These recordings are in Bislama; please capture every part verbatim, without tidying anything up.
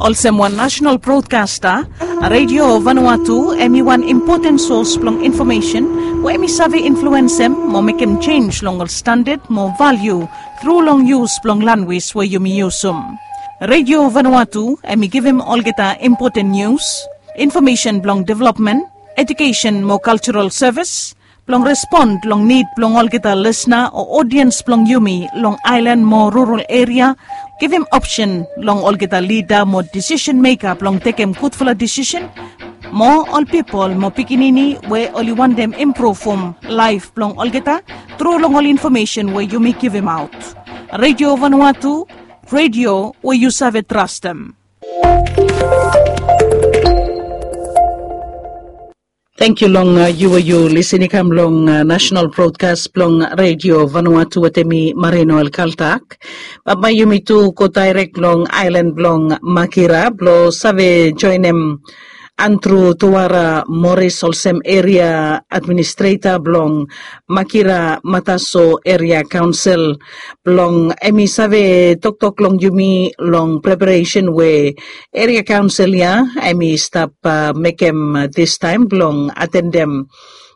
Olsem wan nasenal brodkasta, Redio Vanuatu em i wan impoten sos blong infomesen we em i save influensem mo mekem jenj long ol standad mo valiu tru long yus blong lanwis we yumi yusum. Redio Vanuatu em i givim olgeta impoten nius, infomesen blong developmen, ejukesen mo kaljaral sevis, blong respon long nid blong olgeta lisna o odiens blong yumi long aelan mo rural eria, givim opsen long olgeta lida mo disisen meka blong tekem gudfala disisen, mo ol pipol mo pikinini we oli wantem impruvum laef blong olgeta tru long ol infomesen we yumi givimaot. Redio Vanuatu, redio we yu save trastem. Tangkiu long yu we yu lisin i kam long nasenal brodkas blong Redio Vanuatu wetem mi, Marino El Kaltak. Bae yumi tu go daerek long aelan blong Makira blong save joenem Andru Tuara Moris olsem eria administreta blong Makira Mataso Eria Kaonsel, blong em i save toktok long yumi long preparesen we eria kaonsel ya em i stap mekem distaem blong atendem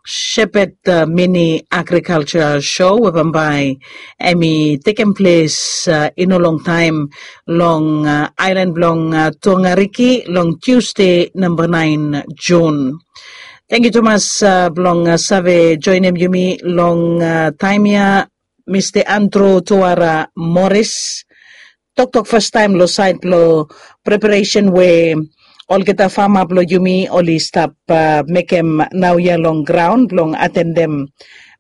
Shepherd Mini Agrikalja Show we bambae em i tekem ples i no longtaem long aelan blong Tongariki long Tiusde namba naen Jun. Tangkiu tumas blong save joenem yumi long taem ya, Mista Andru Tuara Moris. Toktok fastaem long saed blong preparesen we olgeta fama blong yumi oli stap mekem naoia long graon blong atendem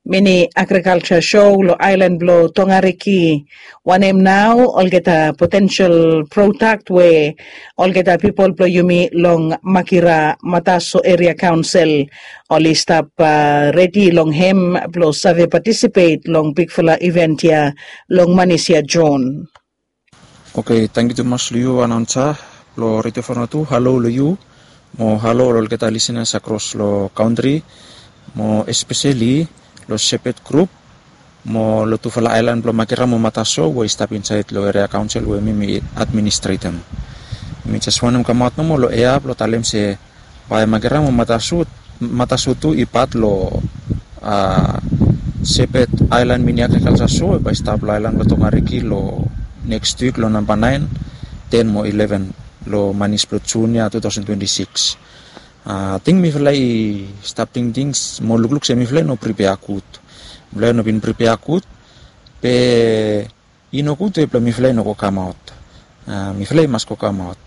Mini Agrikalja Show long aelan blong Tongariki. Wanem nao olgeta potensel prodak we olgeta pipol blong yumi long Makira Mataso Eria Kaonsel oli stap redi long hem blong save patisipet long bigfala iven ya long Manis ya Jon. Oke, tangkiu tumas long yu anaonsa blong Redio Vanuatu. Halo long yu mo halo long olgeta lisenas akros long kantri mo espeseli long Shepherd Group mo long tufala aelan blong Makira mo Mataso we i stap insaed long eria kaonsel we mi mi administretem. Mi jes wantem kamaot nomo long ea blong talem se bae Makira mo Mataso tu i pat long Shepherd Aelan Mini Agrikalja Show we bae i stap long aelan blong Tongariki long neks wik long namba naen, ten mo ileven long manis blong Jun ya tu taosen twenti sikis. Ating mifala i stap tingting mo lukluk se mifala i no pripea gud. Mifala i no bin pripea gud, be i no gud we blong mifala i no go kamaot. Mifala i mas go kamaot.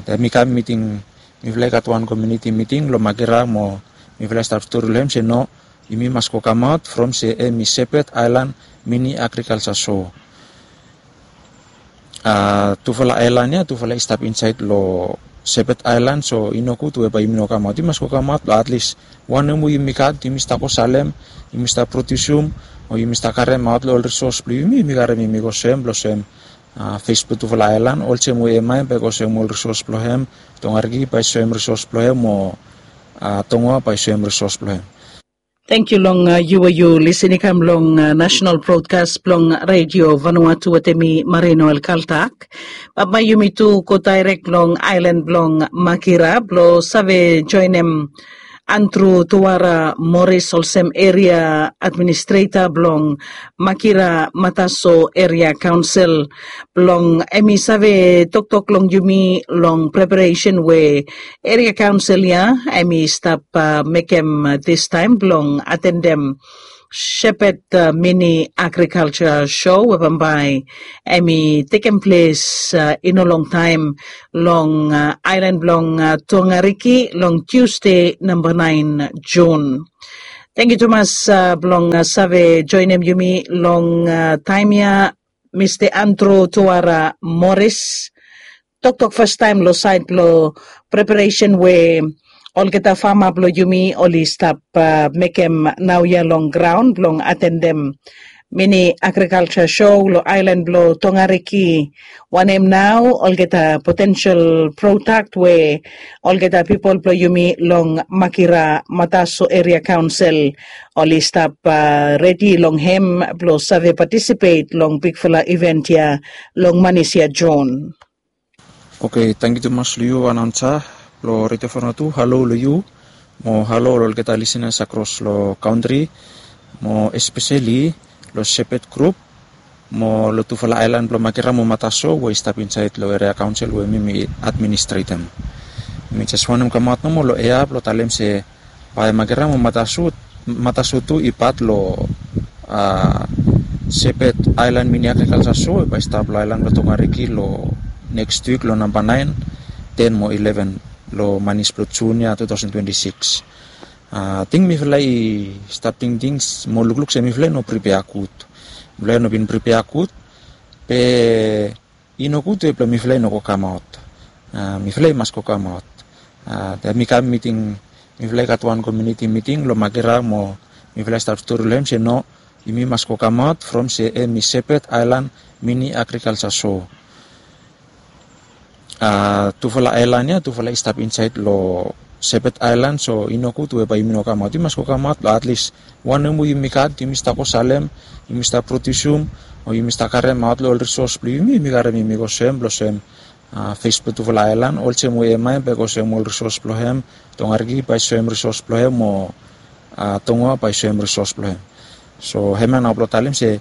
Taem mi kam miting, mifala i gat wan komuniti miting long Makira mo mifala i stap stori long hem se no, yumi mas go kamaot from se hem i Shepherd Aelan Mini Agrikalja Show. Tufala aelan ya tufala i stap insaed long Shepherd Aelan, so i no gud we bae yumi no kamaot. Yumi mas go kamaot blong atlis wanem we yumi gat yumi stap go salem, yumi stap prodiusum o yumi stap karemaot long ol risos blong yumi, yumi karem yumi go soem blong soem fes blong tufala aelan olsem we emae bae go soem ol risos blong hem, Tongariki bae soem risos blong hem o Tongoa bae soem risos blong hem. Tangkiu long yu we yu lisin i kam long nasenal brodkas blong Redio Vanuatu wetem mi Marino El Kaltak. Bae yumi tu go daerek long aelan blong Makira blong save joenem Andru Tuara Moris olsem eria administreta blong Makira Mataso Eria Kaonsel, blong hem i save toktok long yumi long preparesen we eria kaonsel ya hem i stap mekem distaem blong atendem Shepherd Mini Agrikalja Show we bambae hem i tekem ples i no longtaem long aelan blong Tongariki long Tiusde namba naen Jun. Tangkiu tumas blong save joenem yumi long taem ya, Mista Andru Tuara Moris. Toktok fastaem long saed blong preparesen we olgeta fama blong yumi oli stap mekem naoia long graon blong atendem Mini Agrikalja Show long aelan blong Tongariki. Wanem nao olgeta potensel prodak we olgeta pipol blong yumi long Makira Mataso Eria Kaonsel oli stap redi long hem blong save patisipet long bigfala iven ya long Manis ya Jon. Oke, tangkiu tumas long yu anaunsa blong Redio Vanuatu. Halo long yu mo halo long olgeta lisenas akros long kantri, mo espeseli long Sepet grup mo long tufala aelan blong Makira mo Mataso we i stap insaed long eria kaonsel we mi mi administretem. Mi jes wantem kamaot nomo long ea blong talem se bae Makira mo Mataso tu i pat long Sepet Aelan Mini Agrikalsa So we bae i stap long aelan blong Tongariki long neks wik long namba naen, ten mo ileven long manis blong Jun ya tu taosen twenti sikis. Ating mifala i stap tingting mo lukluk se mifala i no pripea gud. Mifala i no bin pripea gud, be i no gud we blong mifala i no go kamaot. Mifala i mas go kamaot. Taem mi kam miting, mifala i gat wan komuniti miting long Makira mo mifala i stap stori long hem se no, yumi mas go kamaot from se hem i Sepet Aelan Mini Agrikalsa So. Tufala aelan ya tufala i stap insaed long Sepet Aelan, so i no gud we bae yumi no kamaot. Yumi mas go kamaot long atlis wanem we yumi gat yumi stap go salem, yumi stap prodiusum, o yumi stap karemaot long ol risos blong yumi, yumi karem yumi go soem blong soem fes blong tufala aelan, olsem we Emae bae i go soem ol risos blong hem, Tongariki bae i soem risos blong hem, mo Tongoa bae i soem risos blong hem. So hemia nao blong talem se,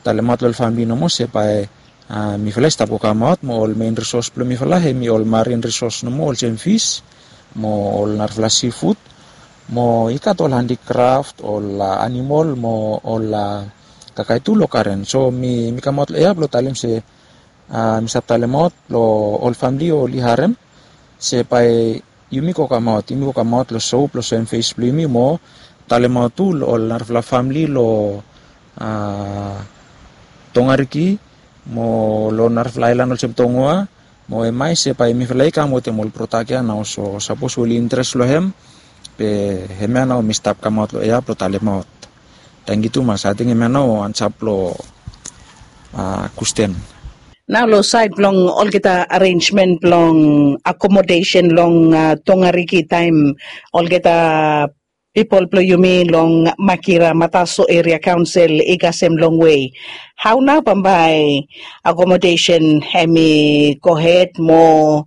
talemaot long ol famili nomo se bae mifala i stap go kamaot mo ol mein risos blong mifala hem i ol marin risos nomo olsem fis mo ol narafala sifud, mo i gat ol handikraf, ol animol mo ol kakae tu long garen. So mi kamaot long ea blong talem se mi stap talemaot long ol famili oli harem se bae yumi go kamaot, yumi go kamaot long so blong soem fes blong yumi mo talemaot tu long ol narafala famili long Tongariki mo long narafala aelan olsem Tongoa mo Emae se bae mifala i kam wetem ol prodak ya nao. So sapos oli interes long hem, be hemia nao mi stap kamaot long ea blong talemaot. Tangkiu tumas. Ating hemia nao ansa blong kwesten. Nao long saed blong olgeta arenjmen blong akomodesen long Tongariki taem olgeta pipol blong yumi long Makira Mataso Eria Kaonsel i kasem longwe, hao nao bambae akomodesen hem i gohed mo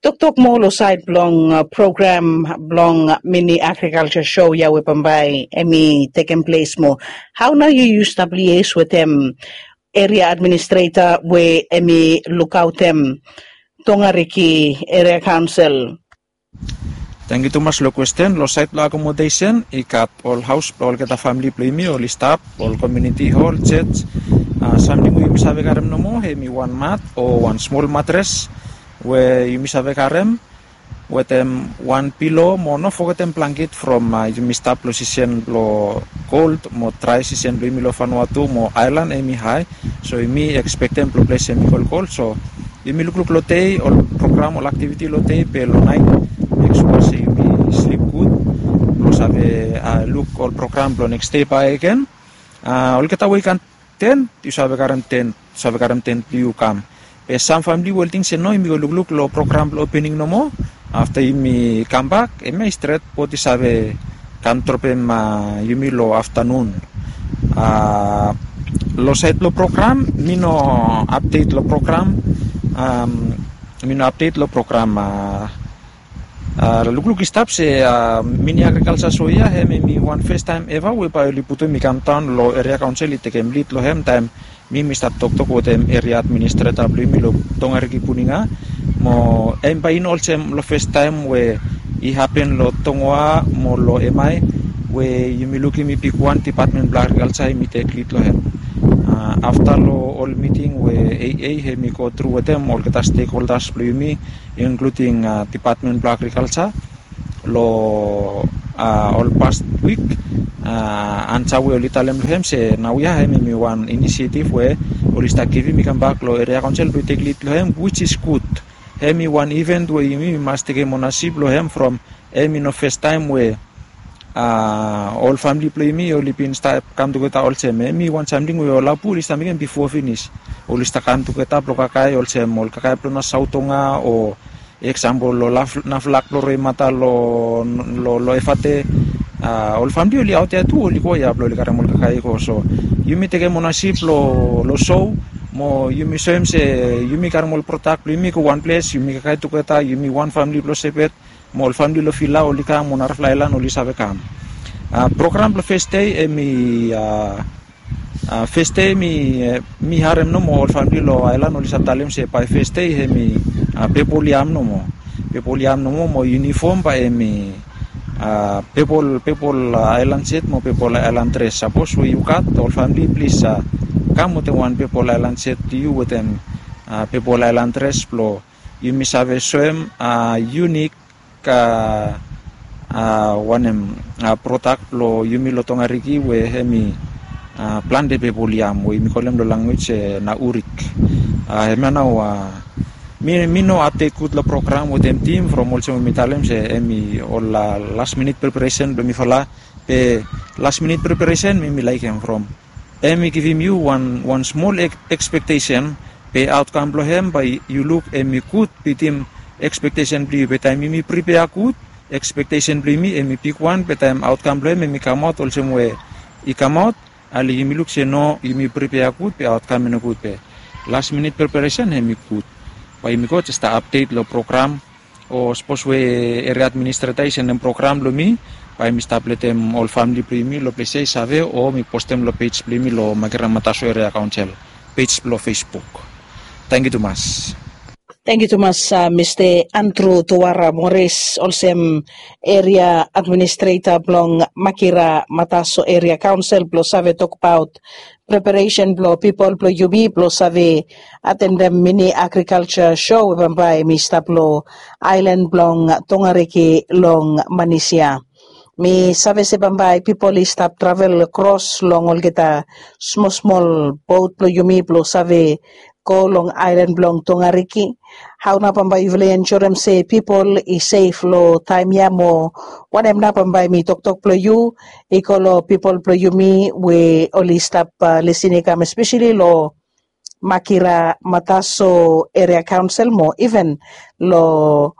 toktok moa long saed blong program blong Mini Agrikalsa So ya we bambae hem i tekem ples moa? Hao nao yu yu stap lies wetem eria administreta we hem i lukaotem Tongariki Eria Kaonsel? Tangkiu tumas long kwesten. Long saed blong akomodesen i gat ol haos blong olgeta famili blong yumi oli stap, ol komuniti hol, jej. Samting we yumi save karem nomo hem i wan mat o wan smol matres we yumi save karem wetem wan pilo mo no fogetem blangket from yumi stap long sisen blong kold mo drae sisen blong yumi long Vanuatu mo aelan hem i hae. So yumi ekspektem blong ples hem i kolkol. So yumi lukluk long dei ol program ol aktiviti long dei be long naet mek sua se yumi slip gud blong save luk ol program blong neks dei bakegen. Olgeta we i gat tent yu save karem tent, yu save karem tent blong yu kam. Be sam famili we oli ting se no, yumi go lukluk long program blong opening nomo. Afta yumi kambak hemia i stret, bot i save kam dropem yumi long aftanun. Long saed blong program mi no apdet long program. Mi no apdet long program. Lukluk i stap se Mini Agrikalsa So ya hem hem i wan festaem eva we bae oli putum i kamdaon long eria kaonsel i tekem lid long hem taem mi mi stap toktok wetem eria administreta blong yumi long Tongariki Puninga. Mo hem bae i no olsem long festaem we i hapen long Tongoa mo long Emae we yumi lukim i bigwan dipatmen blong agrikalsa yumi tek lid long hem. Afta long ol miting we A A hem i go tru wetem olgeta stekholdas blong yumi, inkluding dipatmen blong agrikalsa, long ol past wik, ansa we oli talem long hem se naoia hem hem i wan inisietif we oli stap givim i kambak long eria kaonsel blong i tek lid long hem, wij is gud. Hem i wan iven we yumi mas tekem onasip long hem from hem i no festaem we ol famili blong yumi oli bin stap kam tugeta olsem. Hem i wan samting we ol apu oli stap mekem bifo finis. Oli stap kam tugeta blong kakae olsem ol kakae blong Nasau Tonga o eksampol long Naflak blong Roemata long Efate. Ol famili oli aot ya tu oli go ya blong oli karem ol kakae i go. So yumi tekem onasip long So Mo yumi soem se yumi karem ol prodak blong yumi go wan ples, yumi kaikai tugeta, yumi wan famili blong Sepet, mo ol famili long Vila oli kam, mo narafala aelan oli save kam. Program blong fes dei hemi, fes dei mi harem nomo ol famili long aelan oli save talem se bae fes dei hemi pepol yam nomo. Pepol yam nomo mo yunifom bae hemi pepol, pepol aelan set mo pepol aelan dres. Sapos we yu gat, ol famili plis kam wetem wan pepol aelan set blong yu wetem pepol aelan dres blong yumi save soem yunik wanem, prodak blong yumi long Tongariki we hemi plante pepol yam we yumi kolem long language se na urik. Hemia nao mi, mi no apdet gud long program wetem tim from olsem we mi talem se hemi ol las minit preparesen blong mifala. Be las minit preparesen mi, mi laekem from hemi givim yu wan, wan smol ekspektesen, be aotkam blong hem bae yu luk hemi gud bitim ekspektesen blong yu. Be taem yumi pripea gud, ekspektesen blong yumi hemi bigwan, be taem aotkam blong hem hemi kamaot olsem we i kamaot, ale yumi luk se no, yumi pripea gud be aotkam i no gud. Be las minit preparesen hemi gud. Bae yumi go jes stap apdet long program, o sapos we eria administreta i sendem program long mi, bae mi stap letem ol famili blong yumi long ples ya i save, o mi postem long pej blong yumi long Makira Mataso Eria Kaonsel pej blong Facebook. Tangkiu tumas. Tangkiu tumas, Mista Andrew Tuara Morris, olsem eria administreta blong Makira Mataso Eria Kaonsel blong save tokbaot preparesen blong pipol blong yumi blong save atendem mini agrikalja sho we bambae hemi stap long aelan blong Tongariki long Manisia. Mi save se bambae pipol i stap travel kros long olgeta smol smol bot blong yumi blong save go long aelan blong Tongariki. Hao nao bambae yufala i ensurem se pipol i sef long taem ya mo wanem nao bambae mi toktok blong yu i go long pipol blong yumi we oli stap lisin i kam espeseli long Makira Mataso Eria Kaonsel mo iven long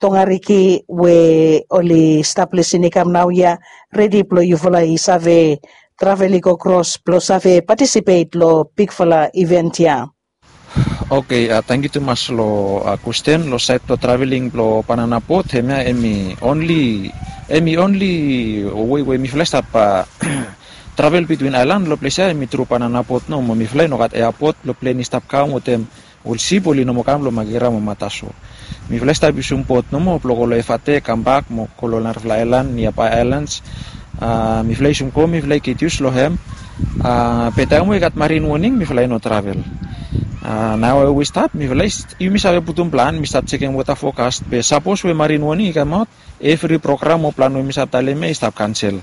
Tongariki we oli stap lisin i kam naoia, redi blong yufala i save travel i go kros blong save patisipet long bigfala iven ya. Oke, tangkiu tumas long kwesten. Long saed blong traveling blong banana bot, hemia hemi onli, hemi onli wei we mifala i stap travel bitwin aelan long ples ya hemi tru banana bot nomo. Mifala i no gat eabot blong plen i stap kam wetem ol sip oli no moa kam long Makira mo Mataso. Mifala i stap yusum bot nomo blong go long Efate, kambak mo go long narafala aelan, niabae aelans. Mifala i yusum go, mifala i get yus long hem. Be taem we i gat marin woning mifala i no travel. Nao we i stap, mifala i, yumi save putum plan, mi stap jekem weta fokas. Be sapos we marin woning i kamaot, evri program o plan we mi stap talem ya i stap kansel.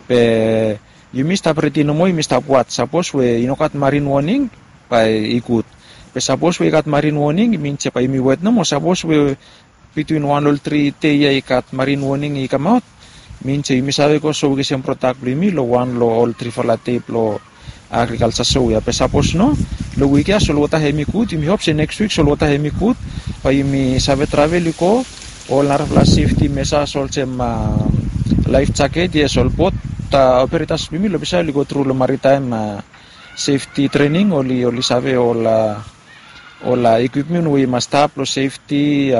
Be yumi stap redi nomo, yumi stap waj. Sapos we i no gat marin woning, bae i gud. Be sapos we i gat marin woning, i min se bae yumi wet nomo. Sapos we bitwin wan long tri dei ya i gat marin woning i kamaot, min se yumi save go sowetem prodak blong yumi long wan long ol trifala dei blong agrikalja sho ya. Be sapos no, long wik ya solwota hemi gud, yumi hop se neks wik solwota hemi gud, bae yumi save travel i go. Ol narafala sefti mesa olsem laef jaket, yes, ol bot operetas blong yumi long ples ya oli go tru long maritaem sefti trening, oli, oli save ol, ol ekwipmen we i mas stap long sefti.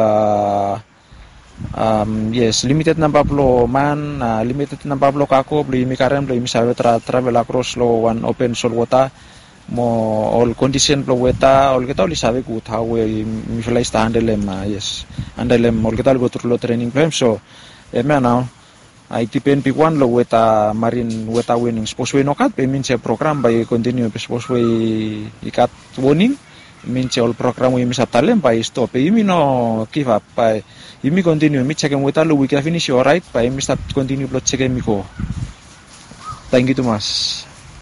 Yes, limited namba blong man, limited namba blong kago blong yumi karem blong yumi save travel akros long wan open solwota, mo ol kondisen blong weta, olgeta oli save gud hao we mifala i stap handelem, yes, handelem olgeta oli go tru long trening blong hem. So hemia nao i dipen bigwan long weta, marin weta woning. Sapos we i no gat, be i min se program bae i kontiniu. Be sapos we i gat woning, i min se ol program we yumi stap talem bae i stop. Be yumi no givap, bae yumi kontiniu. Mi jekem weta long wik ya finis, i oraet, bae yumi stap kontiniu blong jekem i go. Tangkiu tumas.